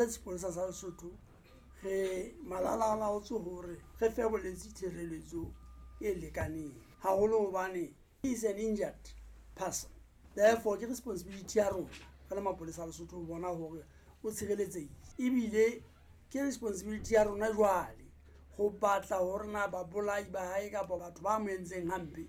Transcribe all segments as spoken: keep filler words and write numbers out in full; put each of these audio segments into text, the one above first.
Sepolesa sa Lesotho re malalalaotswe hore re fe bolwetse tshireletso e lekaneng haholo hobane he is an injured person. Therefore ke responsibility ya rona re le mapolesa a Lesotho ho bona hore o tshireletsehile. Ebile ke responsibility ya rona jwale ho batla hore na babolai ba hae kapa batho ba mo entseng hampe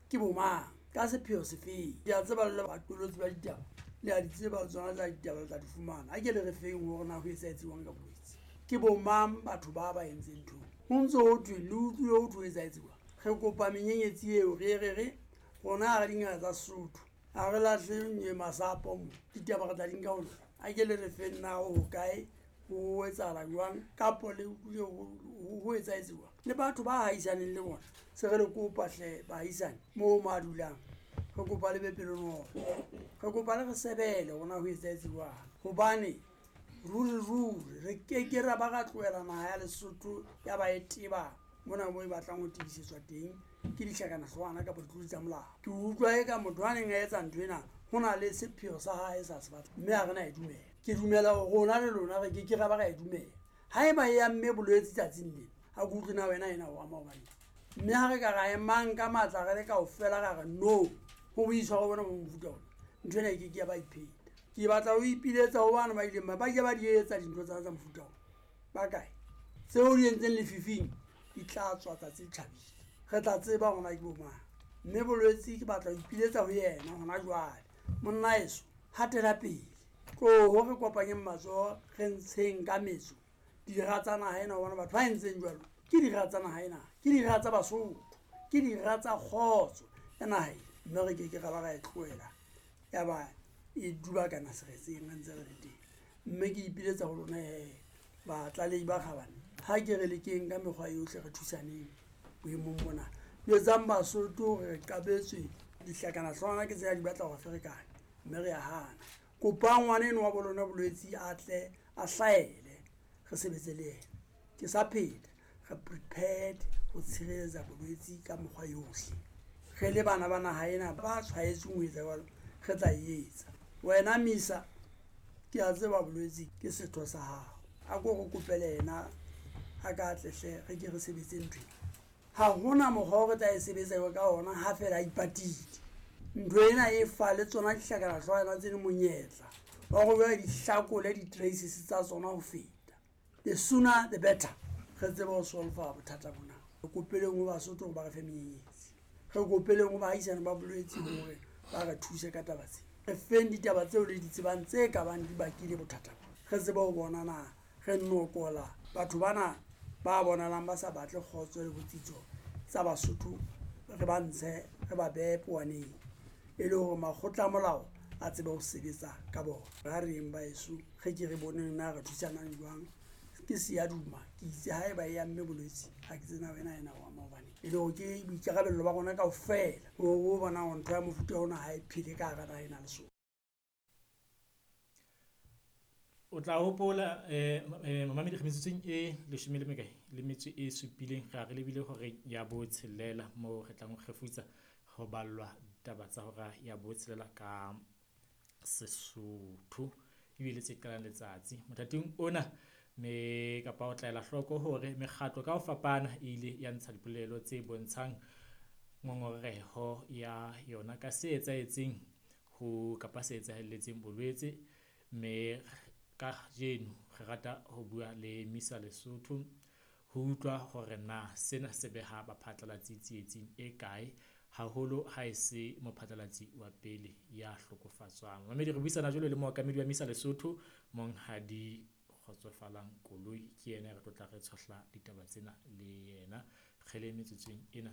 ke bo mang, ka sepheo sefeng. Ke a tseba le baqolotsi ba ditaba, le a di tseba tsona tsa ditaba le tla di fumana. Ha ke le re feng hore na ho etsahetse jwang ka bolwetse. Ke bo mang batho ba ba entseng ntho? Ho ntso ho thwe le utlwile ho thwe ho etsahetse jwang. Re kopa menyenyetsi eo re re re rona ha re dingaka tsa Sesotho, ha re lahle masapo mo. Ditaba re tla di nka ho lona. A ke le re feng na ho hokae, ho etsahala jwang kapo le utlwile ho etsahetse jwang. Le batho ba ahisaneng le bona se re le kopa hle baahisane moo mo a dulang, re kopa le be pelonolo. Re kopa le re sebele hore na ho etsahetse jwang. Hobane ruri ruri re keke ra ba ra tlohela naha ya Lesotho ya ba e teba mona moo e batlang ho tebisetswa teng ke dihlakanahloohwana kapa ditlolo tsa molao. Ke utlwa eka motho a neng a etsa ntho ena ho na le sepheo sa hae sa se batla, mme ha re na e dumela. Ke dumela hore rona le lona re keke ra ba ra e dumela. Haeba e amme bolwetse tsatsing lena, ha ke utlwe na wena ena o ama hobaneng. Mme ha re ka ra emang ka matla re le kaofela ra re no ho boitshwaro bona bo mofuta ona, ntho ena e keke ya ba ipheta. Ke batla ho ipiletsa ho bana ba ileng ba ba ke ba di etsa dintho tsa tsa mofuta ona. Ba kae? Tseo di entseng lefifing di tla tswa tsatsi le tjhabile. Re tla tseba hore na ke bo mang. Mme bolwetse ke batla ho ipiletsa ho yena hona jwale. Monna heso, hatela pele. Tloho re kopanyeng matsoho re ntsheng ka metso dira tsa naha ena, hobane batho ba entseng jwalo ke dira tsa naha ena, ke dira tsa Basotho, ke dira tsa kgotso ya naha ena. Mme re keke ra ba ra e tlohela ya ba e dubakana seretseng re ntse re le teng. Mme ke ipiletsa ho lona he batlalehi ba kgabane, ha ke re lekeng ka mekgwa yohle re thusaneng boemong bona. Jwetsang Basotho hore re qabetswe dihlakanahloohwana ke tsena di batla hore ferekane, mme re a hana. Kopang ngwana enwa wa bo lona bolwetse a tle a hlahele re sebetse le yena. Ke sa pheta, re prepared ho tshireletsa bolwetse ka mekgwa yohle. Re le bana ba naha ena ba tshwaetsweng ho etsa jwalo, re tla e etsa. Wena Misa, ke a tseba bolwetse ke setho sa hao. A ko re kopele yena a ka tle hle re ke re sebetse ntho ena. Ha hona mokgwa o re tla e sebetsa ka ona ha feela a ipatile. Ntho ena e fa le tsona dihlakanahloohwana tse le monyetla wa hore jwale di hlakole di-traces tsa tsona ho feta. The sooner the better. Re tsebe ho solve-a bothata bona. Re kopeleng ho Basotho hore ba re fe menyenyetsi. Re kopeleng ho baahisane ba bolwetse hore ba re thuse ka taba tsena. Re feng ditaba tseo le di tsebang tse ka bang di bakile bothata bona. Re tsebe ho bona na re nokola batho bana ba bonahalang ba sa batle kgotso le botsitso tsa Basotho, re ba ntshe re ba behe powaneng e le hore makgotla a molao a tsebe ho sebetsa ka bona. Ha re yeng baheso, re ke re boneng na re thusanang jwang. Ke seyaduma, ke itse haeba e amme bolwetse, ha ke tsena wena ena o ama hobaneng. E le hore ke boikarabello ba rona kaofela hore o bona hore ntho ya mofuta ona ha e phele ka hara naha ena Lesotho. O tla hopola eh mamedi re metsotsong e leshome le mekae le metso e supileng re re lebile hore ya botshelela moo re tlang ho kgefutsa ho ballwa ditaba tsa hora ya botshelela ka Sesotho ebile tse qalang letsatsi mothating ona. Me kapa o tla ela hloko hore mekgatlo ka ho fapana e ile ya ntsha dipolelo tse bontshang ngongoreho ya yona ka se etsahetseng ho kapa se etsahelletseng bolwetse. Mme kajeno re rata ho bua le Misa Lesotho ho utlwa hore na sena se beha baphatlalatsi tsietsing e kae, haholo ha e se mophatlalatsi wa pele ya hlokofatswang. Mamedi re buisana jwalo le mookamedi wa Misa Lesotho Monghadi Kgotsofalang Koloi, ke yena re tlo tla re tshohla ditaba tsena le yena kgele metsotsong ena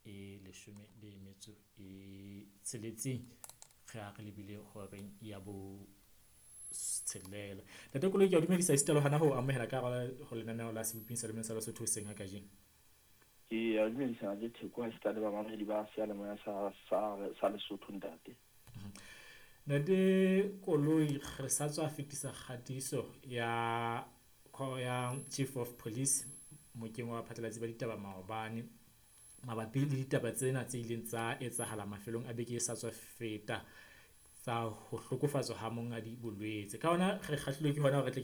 e leshome le metso e tsheletseng re a re lebile horeng ya bo tshelela. Ntate Koloi, ke a dumedisa esita le hona ho amohela ka hara ho lenaneo la Seboping sa Lemong sa Lesotho hoseng ha kajeno. Ke a dumedisa le Theko ha esita le bamamedi ba seyalemoya sa sa sa Lesotho ntate. Ntate Koloi, re sa tswa fetisa kgatiso ya ya Chief of Police mokeng wa baphatlalatsi ba ditaba maobane mabapi le ditaba tsena tse ileng tsa etsahala mafelong a beke e sa tswa feta tsa ho hlokofatswa ha mongadi bolwetse. Ka hona re kgahlilwe ke hona hore tle